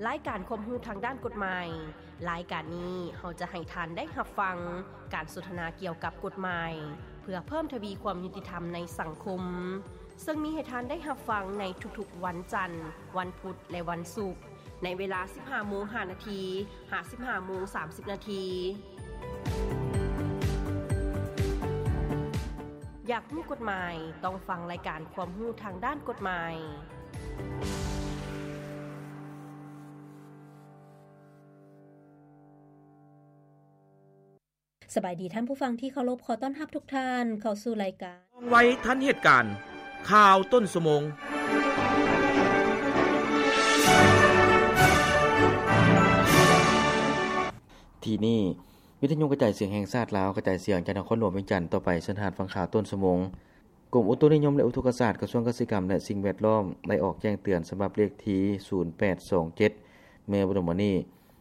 ລາຍການຄວາມຮູ້ທາງດ້ານກົດໝາຍ. ລາຍການນີ້ເຮົາຈະໃຫ້ທ່ານໄດ້ຮັບຟັງການສົນທະນາກ່ຽວກັບກົດໝາຍ ເພື່ອເພີ່ມທະວີຄວາມຍຸຕິທຳໃນສັງຄົມ, ເຊິ່ງມີໃຫ້ທ່ານໄດ້ຮັບຟັງໃນທຸກໆວັນຈັນ, ວັນພຸດ ແລະ ວັນສຸກ ໃນເວລາ ສິບຫ້າໂມງຫ້ານາທີ ຫາ ສິບຫ້າໂມງສາມສິບນາທີ. ຢາກຮູ້ກົດໝາຍ? ຕ້ອງຟັງລາຍການຄວາມຮູ້ທາງດ້ານກົດໝາຍ. ສະບາຍດີທ່ານຜູ້ຟັງທີ່ເຄົາລົບ, ຂໍຕ້ອນຮັບທຸກທ່ານເຂົ້າສູ່ລາຍການ ວ່ອງໄວທັນເຫດການ, ຂ່າວຕົ້ນຊົ່ວໂມງ. ທີ່ນີ້ ວິທະຍຸກະຈາຍສຽງແຫ່ງຊາດລາວ ກະຈາຍສຽງຈາກນະຄອນຫຼວງວຽງຈັນ. ຕໍ່ໄປເຊີນທ່ານຟັງຂ່າວຕົ້ນຊົ່ວໂມງ. ກົມອຸຕຸນິຍົມ ແລະ ອຸທົກກະສາດ ກະຊວງກະສິກຳ ແລະ ສິ່ງແວດລ້ອມ ໄດ້ອອກແຈ້ງເຕືອນສະບັບເລກທີ ສູນແປດສອງເຈັດ ເມື່ອບໍ່ດົນມານີ້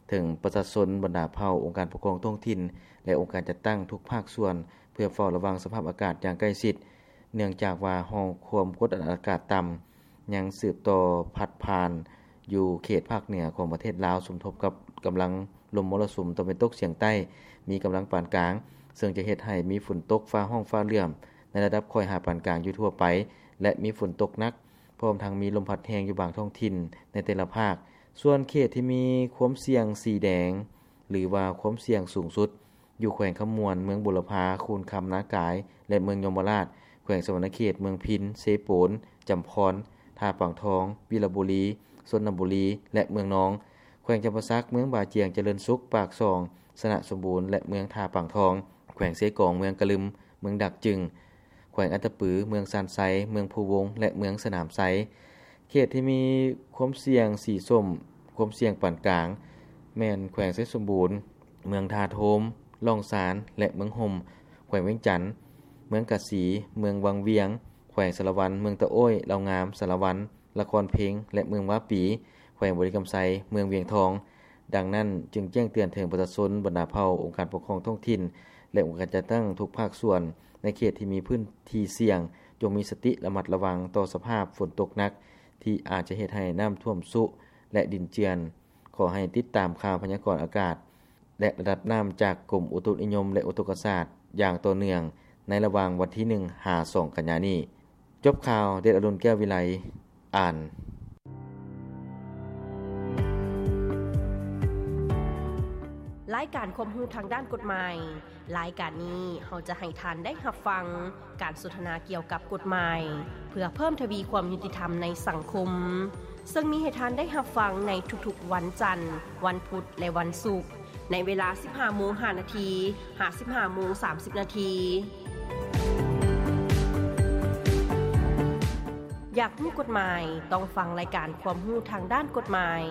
ເຖິງປະຊາຊົນ, ບັນດາເຜົ່າ, ອົງການປົກຄອງທ້ອງຖິ່ນ ແລະ ອົງການຈັດຕັ້ງທຸກພາກສ່ວນ ເພື່ອເຝົ້າລະວັງສະພາບອາກາດຢ່າງໃກ້ຊິດ, ເນື່ອງຈາກວ່າຮ່ອງຄວາມກົດອາກາດຕ່ຳ ຍັງສືບຕໍ່ພັດຜ່ານຢູ່ເຂດພາກເໜືອຂອງປະເທດລາວ ສົມທົບກັບກຳລັງລົມມໍລະສຸມຕາເວັນຕົກສຽງໃຕ້ ມີກຳລັງປານກາງ, ເຊິ່ງຈະເຮັດໃຫ້ມີຝົນຕົກຟ້າຮ້ອງຟ້າເຫຼື້ອມໃນລະດັບຄ່ອຍຫາປານກາງຢູ່ທົ່ວໄປ ແລະ ມີຝົນຕົກໜັກ, ພ້ອມທັງມີລົມພັດແຮງຢູ່ບາງທ້ອງຖິ່ນໃນແຕ່ລະພາກ. ສ່ວນເຂດທີ່ມີຄວາມສ່ຽງສີແດງ ຫຼືວ່າຄວາມສ່ຽງສູງສຸດ ຢູ່ແຂວງຄຳມ່ວນ, ເມືອງບຸລະພາ, ຄູນຄຳ, ນາກາຍ ແລະ ເມືອງຍົມມະລາດ, ແຂວງສະຫວັນນະເຂດ, ເມືອງພິນ, ເຊໂປນ, ຈຳພອນ, ທ່າປາງທອງ, ວິລະບູລີ, ຊົນນະບູລີ ແລະ ເມືອງນອງ, ແຂວງຈຳປາສັກ, ເມືອງບາຈຽງ, ຈະເລີນສຸກ, ປາກຊ່ອງ, ຊະນະສົມບູນ ແລະ ເມືອງທ່າປາງທອງ, ແຂວງເຊກອງ, ເມືອງກະລຶມ, ເມືອງດາກຈຶງ, ແຂວງອັດຕະປື, ເມືອງຊານໄຊ, ເມືອງພູວົງ ແລະ ເມືອງສະໜາມໄຊ. ເຂດທີ່ມີຄວາມສ່ຽງສີສົ້ມ, ຄວາມສ່ຽງປານກາງ ແມ່ນແຂວງໄຊສົມບູນ, ເມືອງທ່າໂທມ, ລ່ອງຊານ ແລະ ເມືອງຫົ່ມ, ແຂວງວຽງຈັນ, ເມືອງກາສີ, ເມືອງວັງວຽງ, ແຂວງສາລະວັນ, ເມືອງຕະໂອ້ຍ, ເຫຼົ່າງາມ, ສາລະວັນ, ລະຄອນເພັງ ແລະ ເມືອງວາປີ, ແຂວງບໍລິຄຳໄຊ, ເມືອງວຽງທອງ. ດັ່ງນັ້ນ, ຈຶ່ງແຈ້ງເຕືອນເຖິງປະຊາຊົນ, ບັນດາເຜົ່າ, ອົງການປົກຄອງທ້ອງຖິ່ນ ແລະ ອົງການຈັດຕັ້ງທຸກພາກສ່ວນ ໃນເຂດທີ່ມີພື້ນທີ່ສ່ຽງ, ຈົ່ງມີສະຕິລະມັດລະວັງຕໍ່ສະພາບຝົນຕົກໜັກ ທີ່ອາດຈະເຮັດໃຫ້ນ້ຳຖ້ວມຊຸ ແລະ ດິນເຈື່ອນ. ຂໍໃຫ້ຕິດຕາມຂ່າວພະຍາກອນອາກາດ ແລະ ລະດັບນ້ຳຈາກກົມອຸຕຸນິຍົມ ແລະ ອຸທົກກະສາດຢ່າງຕໍ່ເນື່ອງ ໃນລະຫວ່າງວັນທີໜຶ່ງ ຫາ ສອງ ກັນຍານີ້. ຈົບຂ່າວ, ເດດອະລຸນ ແກ້ວວິໄລ ອ່ານ. ລາຍການຄວາມຮູ້ທາງດ້ານກົດໝາຍ. ລາຍການນີ້ເຮົາຈະໃຫ້ທ່ານໄດ້ຮັບຟັງການສົນທະນາກ່ຽວກັບກົດໝາຍ ເພື່ອເພີ່ມທະວີຄວາມຍຸຕິທຳໃນສັງຄົມ, ເຊິ່ງມີໃຫ້ທ່ານໄດ້ຮັບຟັງໃນທຸກໆວັນຈັນ, ວັນພຸດ ແລະ ວັນສຸກ ໃນເວລາ ສິບຫ້າໂມງຫ້ານາທີ ຫາ ສິບຫ້າໂມງສາມສິບນາທີ. ຢາກຮູ້ກົດໝາຍ? ຕ້ອງຟັງລາຍການຄວາມຮູ້ທາງດ້ານກົດໝາຍ.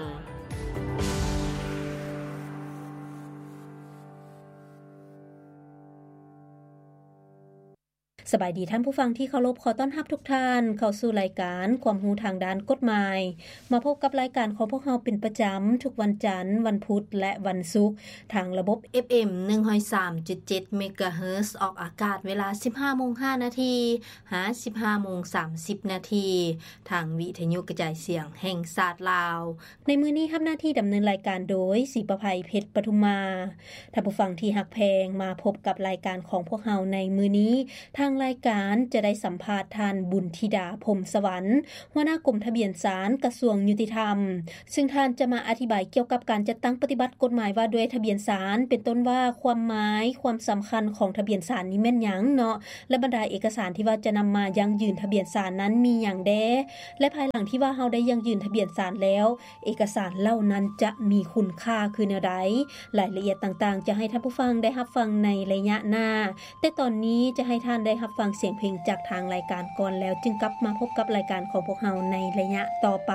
ສະບາຍດີທ່ານຜູ້ຟັງທີ່ເຄົາລົບ, ຂໍຕ້ອນຮັບທຸກທ່ານເຂົ້າສູ່ລາຍການຄວາມຮູ້ທາງດ້ານກົດໝາຍ. ມາພົບກັບລາຍການຂອງພວກເຮົາເປັນປະຈຳທຸກວັນຈັນ, ວັນພຸດ ແລະ ວັນສຸກ ທາງລະບົບ ເອັຟເອັມ ໜຶ່ງຮ້ອຍສາມຈຸດເຈັດ ເມກາເຮີດ ອອກອາກາດເວລາ ສິບຫ້າໂມງຫ້ານາທີ ຫາ ສິບຫ້າໂມງສາມສິບນາທີ ທາງວິທະຍຸກະຈາຍສຽງແຫ່ງຊາດລາວ. ໃນມື້ນີ້ຮັບໜ້າທີ່ດຳເນີນລາຍການໂດຍ ສີປະໄພ ເພັດປະທຸມມາ. ທ່ານຜູ້ຟັງທີ່ຮັກແພງ, ມາພົບກັບລາຍການຂອງພວກເຮົາໃນມື້ນີ້, ທາງລາຍການຈະໄດ້ສຳພາດທ່ານ ບຸນທິດາ ພົມສະຫວັນ ຫົວໜ້າກົມທະບຽນສານ ກະຊວງຍຸຕິທຳ, ເຊິ່ງທ່ານຈະມາອະທິບາຍກ່ຽວກັບການຈັດຕັ້ງປະຕິບັດກົດໝາຍວ່າດ້ວຍທະບຽນສານ, ເປັນຕົ້ນວ່າຄວາມໝາຍ, ຄວາມສຳຄັນຂອງທະບຽນສານນີ້ແມ່ນຫຍັງເນາະ ແລະ ບັນດາເອກະສານທີ່ວ່າຈະນຳມາຢັ້ງຢືນທະບຽນສານນັ້ນມີຫຍັງແດ່ ແລະ ພາຍຫຼັງທີ່ວ່າເຮົາໄດ້ຢັ້ງຢືນທະບຽນສານແລ້ວ, ເອກະສານເຫຼົ່ານັ້ນຈະມີຄຸນຄ່າຄືແນວໃດ? ລາຍລະອຽດຕ່າງໆ ຈະໃຫ້ທ່ານຜູ້ຟັງໄດ້ຮັບຟັງໃນໄລຍະໜ້າ, ແຕ່ຕອນນີ້ຈະໃຫ້ທ່ານໄດ້ຮັບຟັງສຽງເພງຈາກທາງລາຍການກ່ອນ, ແລ້ວຈຶ່ງກັບມາພົບກັບລາຍການຂອງພວກເຮົາໃນໄລຍະຕໍ່ໄປ.